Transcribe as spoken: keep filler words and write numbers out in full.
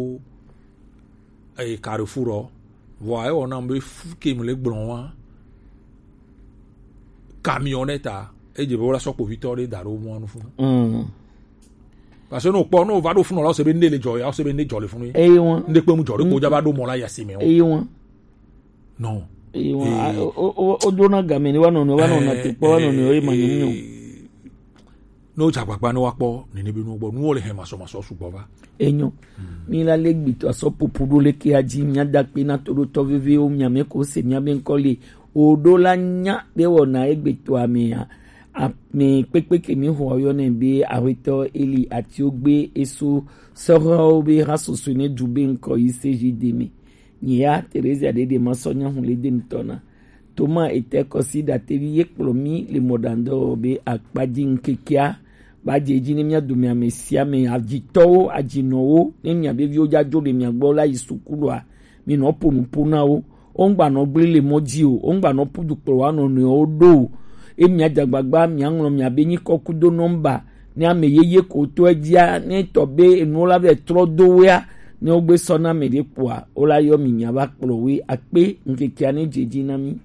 eye Carrefour ɔ, vɔa ewɔ nam be fu ke mi le gblɔ wa, camionnette a, edze be wola sɔ kpovitɔ ɖe da ɖo mɔa nu funu. Mm. Parce que ne wokpɔ, ne wova ɖo funu la, wose be ne le dzɔ ya, wose be ne dzɔ le funu ye. Eye wa. Ne kpe mu dzɔ ɖe ko dza va ɖo mɔ la ya si me o. Eye wa. Non. Eye wa. Eye. A, o, o, o, o dona game ne wa nɔ, ne wa nɔ na te kpɔ wa nɔ, ne wa ye ma nyɔ. Ne wodze agbagba ne woakpɔ nene be nuwo gbɔ, nuwo le hɛn masɔmasɔ sugbɔ va. Enyo. Mi la le gbitɔ asɔ popo ɖo leke adzi mia da kpe na toɖotɔ vevewo, mia me ko se mia be ŋkɔ le o ɖo la nya be wɔna egbetɔa mea. Ame kpekpe ke mi xɔ yɔ ne be awetɔ Eli ati ogbe eso sɔhɔwo be ha soso ne du be ŋkɔ yi se ji de me. Nye ya Teresa ɖeɖe ma sɔ nya hu le de ŋutɔ na. Toma ete kɔsi ɖatevi ye kplɔ mi le mɔɖaŋdɔ be akpadzi ŋkekea ba dze dzi ne mia dome ame sia ame, adzitɔwo, adzinɔwo, ne mia be viwo dza dzo le mia gbɔ la yi suku ɖoa, mi nɔ ƒo nu ƒo na wo. Wo ŋgba nɔ gblẽ le mɔ dzi o, wo ŋgba nɔ ƒu du kplɔ wa nɔnɔewo ɖo o. Ye mia dze agbagba mia ŋlɔ mia be nyikɔ kudo nɔmba ne ame yeye ko to edzia, ne tɔ be enuwo la vɛ trɔ do wea, ne wogbe sɔ na ame ɖe kpoa, wo la yɔ mi mia va kplɔ woe akpe ŋkekea ne dze dzi na mi.